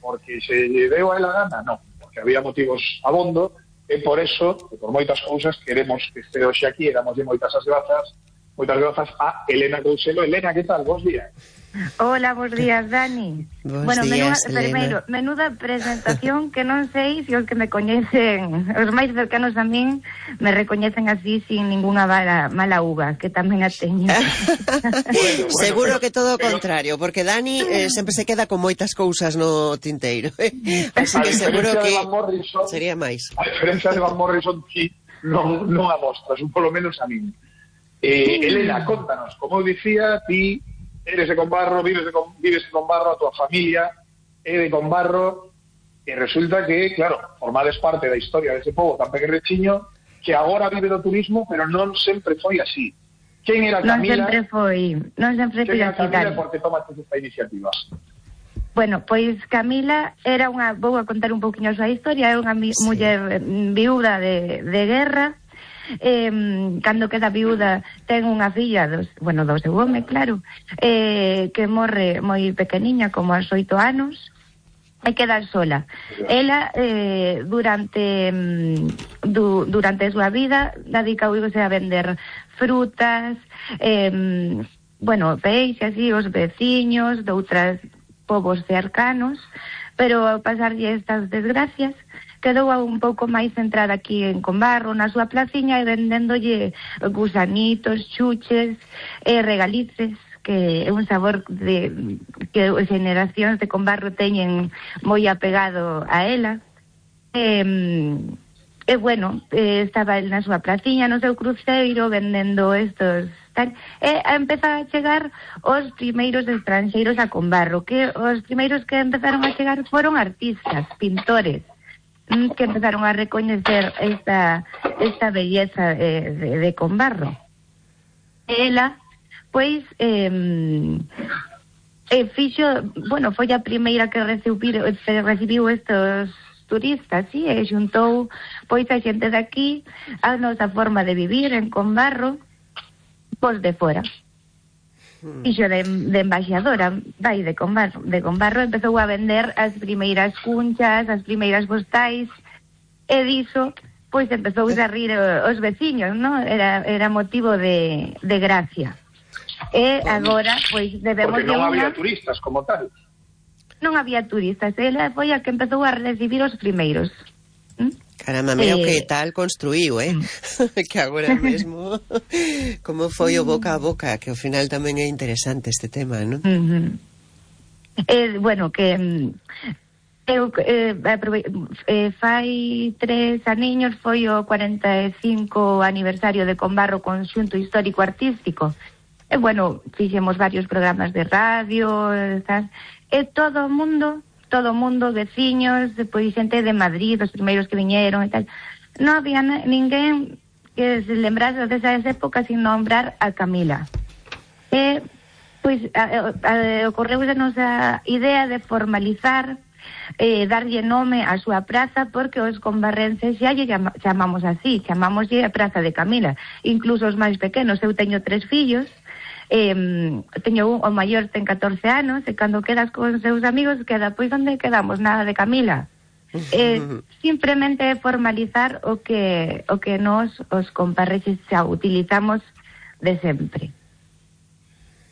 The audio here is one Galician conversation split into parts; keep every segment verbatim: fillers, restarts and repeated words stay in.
porque se lle deu a ela gana, non, porque había motivos abondo, e por eso, e por moitas cousas, queremos que este hoxe aquí, e damoslle moitas as grazas, moitas grazas a Elena Couselo. Elena, que tal? Bos días. Hola, bons días, Dani. Bos bueno, días, menuda, primeiro, menuda presentación que non sei se os que me coñecen, os máis cercanos a min, me recoñecen así sin ninguna mala, mala uva, que tamén a teño. bueno, bueno, Seguro que todo o contrario, porque Dani eh, sempre se queda con moitas cousas no tinteiro. Eh? Así que seguro que Morrison, sería máis. A diferencia de Van Morrison, ti non, non a mostras, un polo menos a min. Eh, Elena, contanos, como dicía, ti eres de Combarro, vives de, vives de Combarro, a tua familia é de Combarro, e resulta que, claro, formades parte da historia dese pobo tan pequerechiño que agora vive do turismo, pero non sempre foi así. Quen era Camila? Non sempre foi, non sempre foi así. Quen era Camila, por que tomaste esta iniciativa? Bueno, pois Camila era unha, vou a contar un pouquinho a súa historia, é unha sí. muller viúda de, de guerra. Eh, cando queda viúda ten unha filla dos, bueno, do seu home, claro, eh, que morre moi pequeniña, como aos oito anos, e queda sola. Ela eh, durante du, durante a súa vida dedicouse a vender frutas, eh, bueno, peixe, así, os veciños de outros povos cercanos, pero ao pasarlle estas desgracias quedou un pouco máis centrada aquí en Combarro, na súa placiña, e vendéndolle gusanitos, chuches e regalices, que é un sabor de que as generacións de Combarro teñen moi apegado a ela. E, e bueno, estaba na súa placiña, no seu cruceiro, vendendo estos tal, e empeza a chegar os primeiros estranxeiros a Combarro, que os primeiros que empezaron a chegar foron artistas, pintores, que empezaron a recoñecer esta esta belleza eh, de, de Combarro. Ela, pois, eh, eh, fixo, bueno, foi a primeira que recibiu, recibiu estos turistas, sí, e xuntou, pois, a xente de aquí, a nosa forma de vivir en Combarro, pois de fora. Fixo de, de embaixadora, vai, de Combarro, de Combarro, empezou a vender as primeiras cunchas, as primeiras postais, e diso, pois empezou a rir os veciños, non? Era, era motivo de, de gracia. E agora, pois, debemos... Porque non había una... turistas como tal. Non había turistas, ela foi a que empezou a recibir os primeiros. ¿Mm? Caramba, mira o que tal construíu, eh? Que agora mesmo como foi o boca a boca, que ao final tamén é interesante este tema, non? Uh-huh. Eh, bueno, que eu eh, eh, fai tres aniños foi o cuarenta e cinco aniversario de Combarro Conxunto Histórico Artístico. E bueno, fixemos varios programas de radio, tal, e todo o mundo todo o mundo, veciños, pois xente de Madrid, os primeiros que viñeron e tal. Non había ninguén que se lembrase desas épocas sin nombrar a Camila. E, pois, ocorreusenos a idea de formalizar, eh, darlle nome á súa praza, porque os combarrenses xa lle chamamos así, chamámoslle a Praza de Camila. Incluso os máis pequenos, eu teño tres fillos, Eh, teño un, o maior ten catorce anos, e cando quedas con seus amigos queda, pois onde quedamos, nada de Camila. eh, simplemente formalizar o que o que nos os comparrexes xa utilizamos de sempre.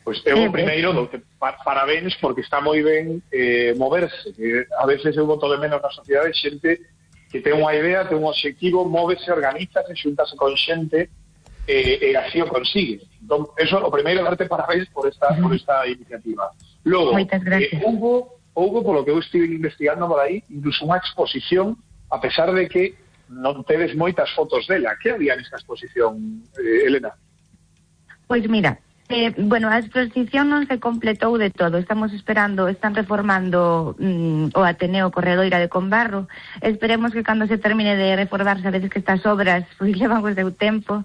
Pois eu eh, primeiro do que pa, parabéns, porque está moi ben eh, moverse, que a veces eu boto de menos na sociedade xente que ten unha idea, ten un obxectivo, móvese, organizase, xuntase con xente, e eh, eh, así o consigue. Entón, eso, o primeiro, darte parabéns por esta, uh-huh. por esta iniciativa. Logo, eh, houve, houve, polo que eu estive investigando por aí, incluso unha exposición, a pesar de que non tedes moitas fotos dela. Que había nesta exposición, eh, Elena? Pois mira, eh, bueno, a exposición non se completou de todo. Estamos esperando, están reformando mm, o Ateneo Corredoira de Combarro. Esperemos que cando se termine de reformar, sabedes que estas obras pois levan o seu tempo,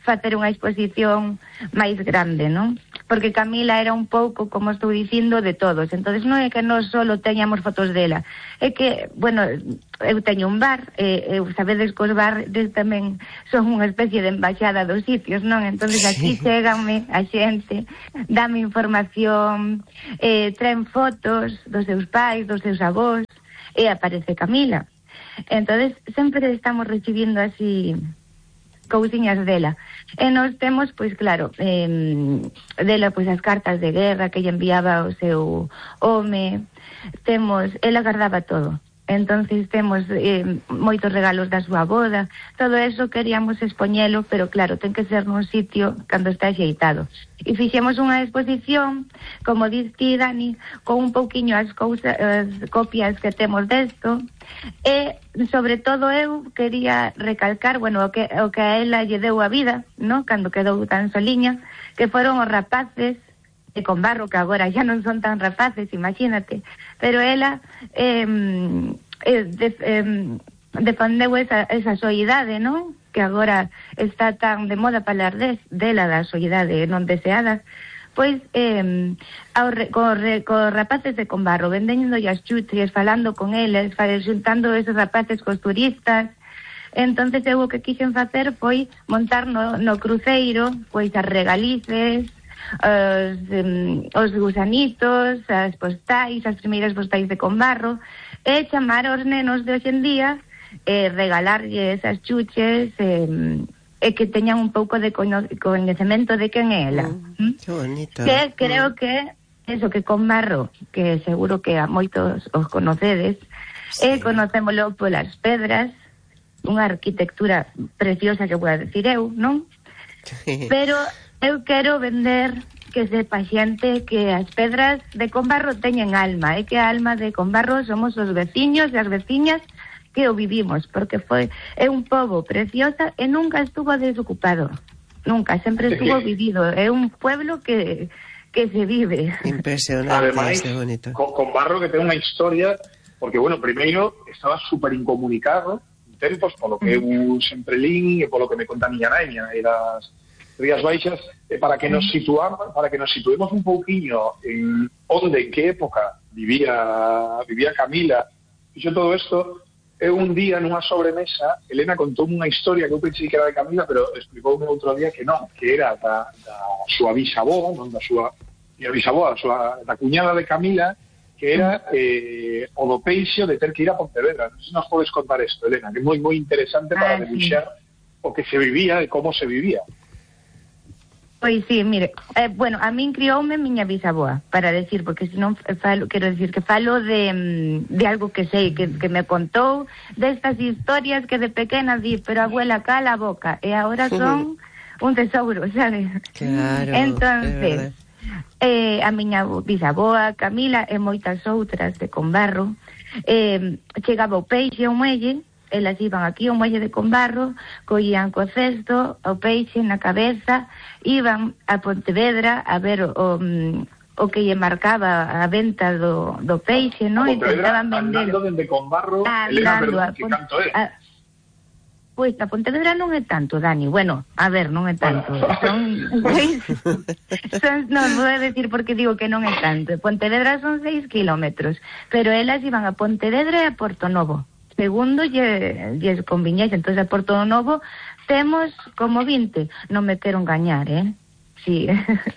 facer unha exposición máis grande, non? Porque Camila era un pouco, como estou dicindo, de todos. Entonces non é que non solo teñamos fotos dela, é que, bueno, eu teño un bar, e eu sabedes que os bares tamén son unha especie de embaixada dos sitios, non? Entonces aquí sí. Cheganme a xente, dame información, eh, traen fotos dos seus pais, dos seus avós, e aparece Camila. Entonces sempre estamos recibindo así cousiñas dela. E nos temos, pois claro, eh, dela pois as cartas de guerra que lle enviaba o seu home, temos, ela guardaba todo. Entonces temos eh, moitos regalos da súa boda, todo eso queríamos expoñelo, pero claro, ten que ser nun sitio cando está axeitado. E fixemos unha exposición, como diz ti, Dani, con un pouquiño as, cousas, as copias que temos desto, e sobre todo eu quería recalcar, bueno, o que, o que a ela lle deu a vida, no? Cando quedou tan soliña, que foron os rapaces de Combarro, que agora xa non son tan rapaces, imagínate, pero ela eh, eh, de, eh, defendeu esa, esa soidade, non? Que agora está tan de moda falar de, dela da soidade non deseada, pois eh, ao re, co, re, co rapaces de Combarro, vendendo as chuches, falando con eles, juntando esos rapaces cos turistas. Entonces eu o que quixen facer foi montar no, no cruceiro pois as regalices, Os, um, os gusanitos, as postais, as primeiras postais de Combarro, e chamar aos nenos de hoxe en día, e regalarlles as chuches, e, e que teñan un pouco de coñecemento de quen é ela. Mm, que bonito. Que creo mm. que eso, que Combarro, que seguro que a moitos os conocedes, sí. E conocémolo polas pedras, unha arquitectura preciosa que vou a decir eu, non? Sí. Pero eu quero vender que sepa xente que as pedras de Combarro teñen alma, e que a alma de Combarro somos os veciños e as veciñas que o vivimos, porque foi é un pobo preciosa e nunca estuvo desocupado, nunca, sempre estuvo vivido, é un pueblo que que se vive. Impresionante. Ademais, bonito. Combarro que ten unha historia, porque, bueno, primeiro estaba super incomunicado en tempos, polo que eu sempre lín e polo que me conta a miña naña, e das Rías Baixas, eh, para que nos situamos, para que nos situemos un pouquiño en onde, en que época vivía vivía Camila. Fixo todo isto, e un día nunha sobremesa, Elena contoume unha historia que eu pensei que era de Camila, pero explicoume outro día que non, que era da, da súa bisavó, non da súa da bisavó, da, súa, da cuñada de Camila, que era eh, o do peixe de ter que ir a Pontevedra. Non sei se nos podes contar isto, Elena, que é moi moi interesante para debuxar o que se vivía e como se vivía. Pois sí, mire, eh, bueno, a min crioume miña bisaboa, para decir, porque senón falo, quero decir que falo de, de algo que sei, que, que me contou, destas historias que de pequena di, pero abuela cala a boca, e agora son un tesouro, sabes? Claro, entonces, eh, a miña bisaboa, Camila, e moitas outras de Combarro, eh, chegaba o peixe ao muelle, elas iban aquí ao muelle de Combarro, collían co cesto, o peixe na cabeza, iban a Pontevedra a ver o, o, o que lle marcaba a venta do, do peixe, non? A Pontevedra, andando dende Combarro, Elena, perdón, que canto é? A, pois a Pontevedra non é tanto, Dani, bueno, a ver, non é tanto, bueno. son, seis, son, non vou a decir porque digo que non é tanto, Pontevedra son seis kilómetros, pero elas iban a Pontevedra e a Porto Novo, segundo lle, lle conviñese. Entonces a Porto Novo temos como vinte, non me quero engañar, eh? Sí,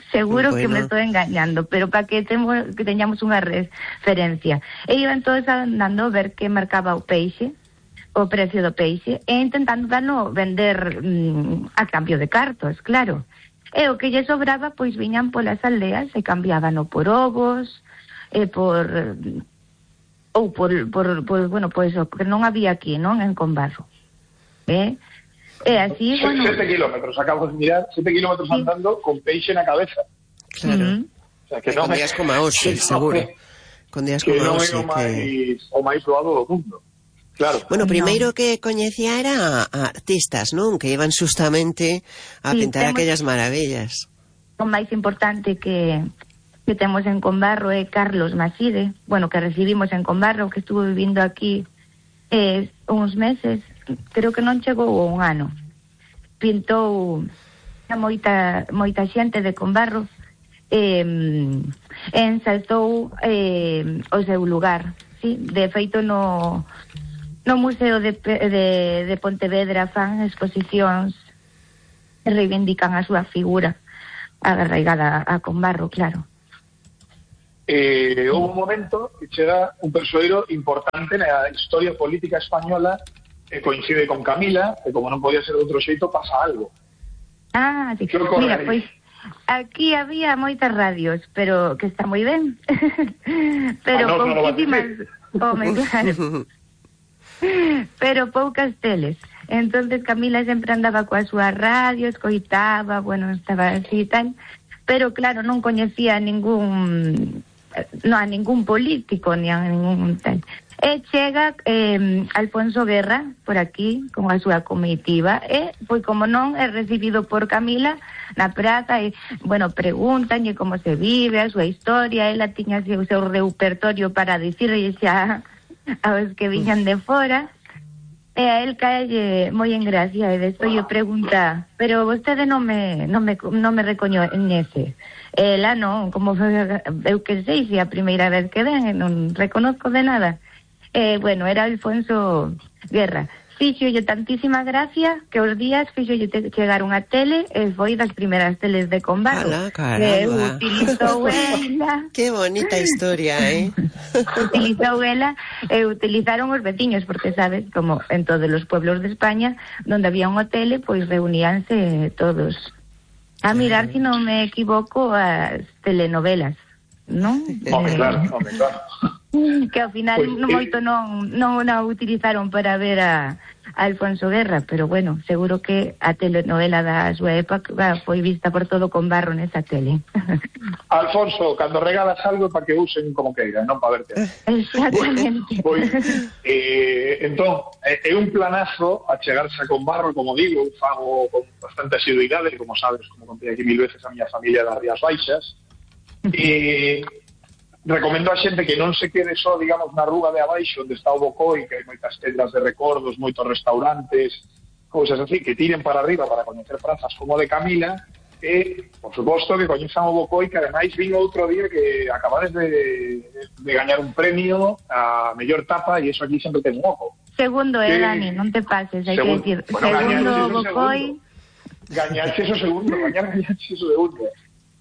seguro bueno. Que me estou engañando, pero para que, temos, que teñamos unha referencia. E iban todos andando a ver que marcaba o peixe, o precio do peixe, e intentando dano vender mm, a cambio de cartos, claro. E o que lle sobraba, pois viñan polas aldeas e cambiábano por ovos, e por... ou por, por, por bueno, pois o que non había aquí, non? En Combarro. Eh? E así, Se, bueno... Sete kilómetros, acabo de mirar, sete kilómetros sí. Andando con peixe na cabeza. Claro. Uh-huh. O sea, que non con me... días como a hoxe, seguro. Con días como a hoxe. Que non é o máis, que... o máis doado do mundo. Claro. Bueno, primeiro no. que coñecía era a artistas, non? Que iban justamente a sí, pintar temos... aquellas maravillas. O máis importante que... que temos en Combarro é Carlos Maside, bueno, que recibimos en Combarro, que estuvo vivindo aquí eh, uns meses, creo que non chegou un ano. pintou a moita, moita xente de Combarro, eh, ensaltou eh, o seu lugar, sí? De feito no, no Museo de, de, de Pontevedra fan exposicións que reivindican a súa figura arraigada a Combarro, claro. Eh, houve un momento que chega un persoeiro importante na historia política española que coincide con Camila, e como non podía ser de outro xeito, pasa algo. Ah, sí. Mira, pois aquí había moitas radios, pero que está moi ben. Pero ah, no, pouquísimas, no home, claro. Pero poucas teles. Entonces Camila sempre andaba coa súa radio, escoitaba, bueno, estaba así e tal, pero claro, non coñecía ningún no a ningún político ni a ningún tal. E chega eh, Alfonso Guerra por aquí con a súa comitiva e, pois como non, é recibido por Camila na praza e, bueno, preguntanlle como se vive, a súa historia, ela tiña o seu repertorio para dicirlle xa aos que viñan de fora. E a él caelle moi en gracia e despois lle pregunta, pero vostede non me non me non me recoñece. Ela non, como eu que sei, se a primeira vez que ven, non reconozco de nada. Eh, bueno, era Alfonso Guerra. Fíxolle tantísima gracia que os días fíxolle chegar unha tele e foi das primeiras teles de Combarro. Ala, caramba. Que utilizou ela. Qué bonita historia, eh? Utilizou ela e utilizaron os veciños, porque sabes, como en todos os pueblos de España, donde había unha tele, pois reuníanse todos a mirar, se si non me equivoco, as telenovelas, non? Home, claro, home, claro. Que ao final pues, no, moito non, non a utilizaron para ver a, a Alfonso Guerra, pero bueno, seguro que a telenovela da súa época foi vista por todo Combarro nesa tele. Alfonso, cando regalas algo para que usen como queiran, non para verte. Exactamente. Pois, eh, entón, é un planazo a chegarse a Combarro, como digo, un fago con bastante asiduidade, como sabes, como contei aquí mil veces a miña familia das Rías Baixas, e recomendo a xente que non se quede só, digamos, na rúa de abaixo onde está o Bocoi, que hai moitas tendas de recordos, moitos restaurantes, cousas así, que tiren para arriba para coñecer prazas como de Camila, e, por suposto, que coñezan o Bocoi, que ademais vin outro día que acabades de, de gañar un premio a mellor tapa, e iso aquí sempre ten un ojo. Segundo, eh, Dani, non te pases, hai que decir. Bueno, segundo Bocoi. Gañaxe eso segundo, gañar gañaxe eso segundo.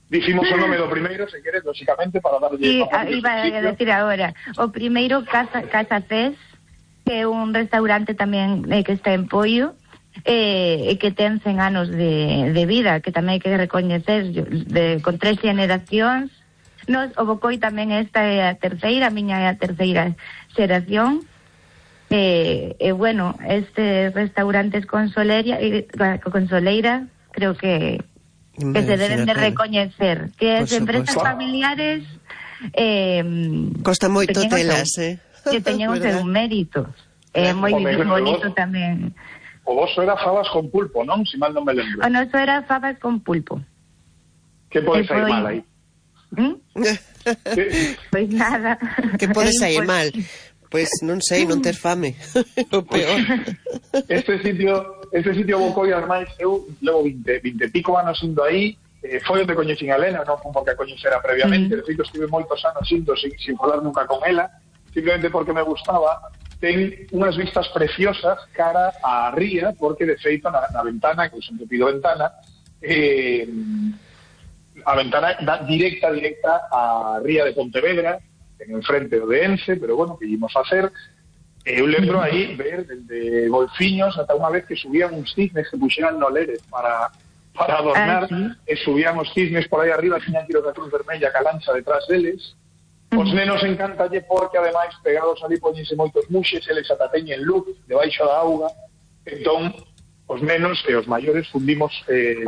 Dicimos o nome do primeiro, se queres, lógicamente, para darlle... Sí, iba a decir agora. O primeiro, Casa, Casa Fes, que é un restaurante tamén eh, que está en Poio, e eh, que ten cen anos de, de vida, que tamén hai que recoñecer, de, con tres generacións. Nos, o Bocoi tamén esta é a terceira, a miña é a terceira xeración. E, eh, eh, bueno, este restaurantes con Soleira, eh, con Soleira, creo que... que se deben de recoñecer, que as empresas familiares eh, costa moito telas, eh? Que teñen o seu mérito, é eh, moi bonito tamén. O voso era fabas con pulpo, non? Si mal non me lembro. O noso era fabas con pulpo. Que pode sair mal aí? ¿Mm? Pois nada. Que pode sair mal? Pois non sei, non ter fame. O peor. Este sitio, este sitio Bocoi, ademais, eu levo vinte, vinte e pico anos indo aí, eh, foi onde coñecín a Elena, non foi porque a coñecera previamente, mm. de feito estive moitos anos indo sin, sin falar nunca con ela, simplemente porque me gustaba. Ten unhas vistas preciosas cara á ría, porque de feito na, na ventana, que eu sempre pido ventana, eh, a ventana da directa, directa á ría de Pontevedra, en el frente do de Ence, pero bueno, que íbamos a hacer. Eu lembro aí ver desde golfiños ata unha vez que subían uns cisnes que puxeran no Lérez para, para adornar, ah, sí. E subían os cisnes por aí arriba, tiñan tiros de cruz vermella ca lancha detrás deles. Os nenos encantalle porque ademais pegados ali poñense moitos muxes, eles ata teñen luz debaixo da auga, entón os nenos e os maiores fundimos eh,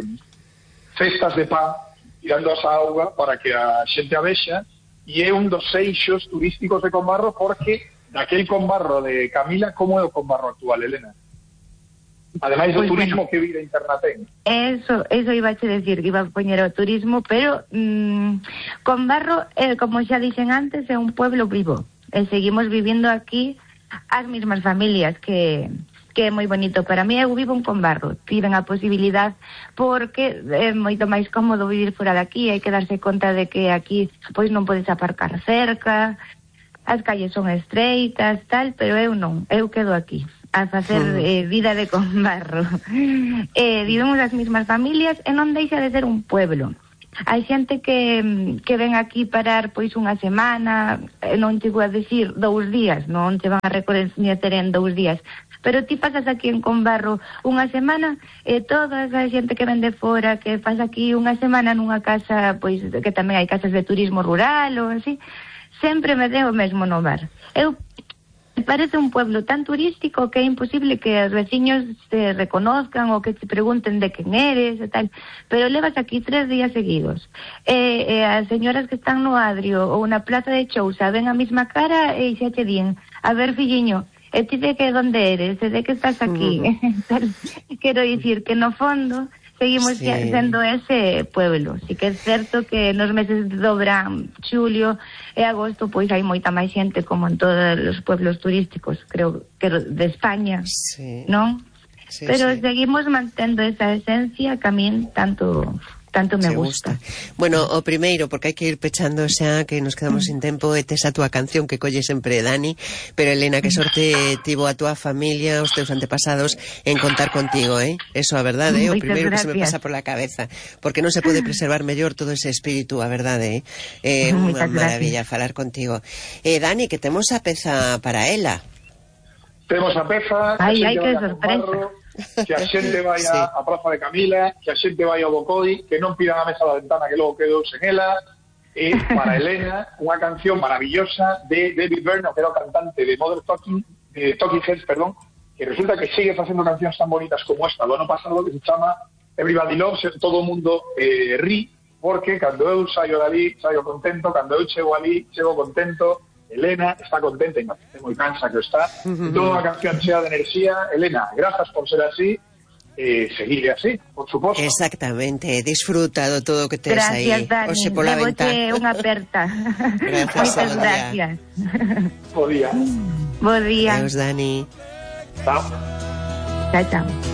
cestas de pan tirando asa auga para que a xente a vexa. E é un dos eixos turísticos de Combarro, porque daquel Combarro de Camila, como é o Combarro actual, Elena? Ademais do pues turismo, bueno, que vida interna ten. Eso, eso iba a che decir, que iba a poñer o turismo, pero mmm, Combarro, eh, como xa dixen antes, é un pueblo vivo, e seguimos vivindo aquí as mismas familias que, que é moi bonito para mí. Eu vivo en Combarro, tiven a posibilidad porque é moito máis cómodo vivir fora de aquí, hai que darse conta de que aquí pois non podes aparcar cerca, as calles son estreitas, tal, pero eu non, eu quedo aquí a facer eh, vida de Combarro. eh, vivimos as mismas familias e non deixa de ser un pueblo. Hai xente que, que ven aquí parar pois unha semana, non chego a decir dous días, non te van a recoñecer en dous días, pero ti pasas aquí en Combarro unha semana e toda a xente que ven de fora, que pasa aquí unha semana nunha casa, pois que tamén hai casas de turismo rural ou así, sempre me deu o mesmo no bar. Eu parece un pueblo tan turístico que é imposible que os veciños te reconozcan ou que te pregunten de quen eres e tal, pero levas aquí tres días seguidos e, e as señoras que están no Adrio ou na Plaza de Chousa ven a mesma cara e xa te din, a ver filliño, e ti de que donde eres, e de que estás aquí. Uh-huh. Quero dicir que no fondo seguimos sí. sendo ese pueblo. Si que é certo que nos meses do verán, xulio e agosto, pois hai moita máis xente como en todos os pueblos turísticos, creo que de España, sí. non? Sí, pero sí. seguimos mantendo esa esencia que a min tanto... tanto me gusta. gusta. Bueno, o primeiro, porque hai que ir pechando xa, que nos quedamos mm. sin tempo, e tes a túa canción que colle sempre Dani, pero Elena, que sorte tivo a túa familia, os teus antepasados, en contar contigo, eh? Eso, a verdade, é o primeiro gracias. Que se me pasa por la cabeza, porque non se pode preservar mellor todo ese espírito, a verdade, eh? É unha maravilla gracias. Falar contigo. Eh, Dani, que temos a peza para ela. Temos a peza... Ai, ai, que sorpresa. Que a xente vai sí. a Praza de Camila, que a xente vai ao Bocoi, que non pidan a mesa da ventana que logo quedou sen ela. E para Elena, unha canción maravillosa de David Byrne, que era o cantante de Modern Talking, de Talking Heads, perdón, que resulta que sigue facendo cancións tan bonitas como esta do ano pasado, que se chama Everybody Loves, todo o mundo eh, ri, porque cando eu saio dali, saio contento, cando eu chego ali, chego contento. Elena está contenta e moi cansa que está. Uh-huh. Toda unha canción chea de enerxía. Elena, grazas por ser así. Eh, seguir así, por suposto. Exactamente, disfrutado todo o que tes aí. Gracias, Dani. Oxe, pola ventana. Unha aperta. Gracias, Moitas gracias. Bo día. Bo día. Adeus, Dani. Chao. Chao, chao.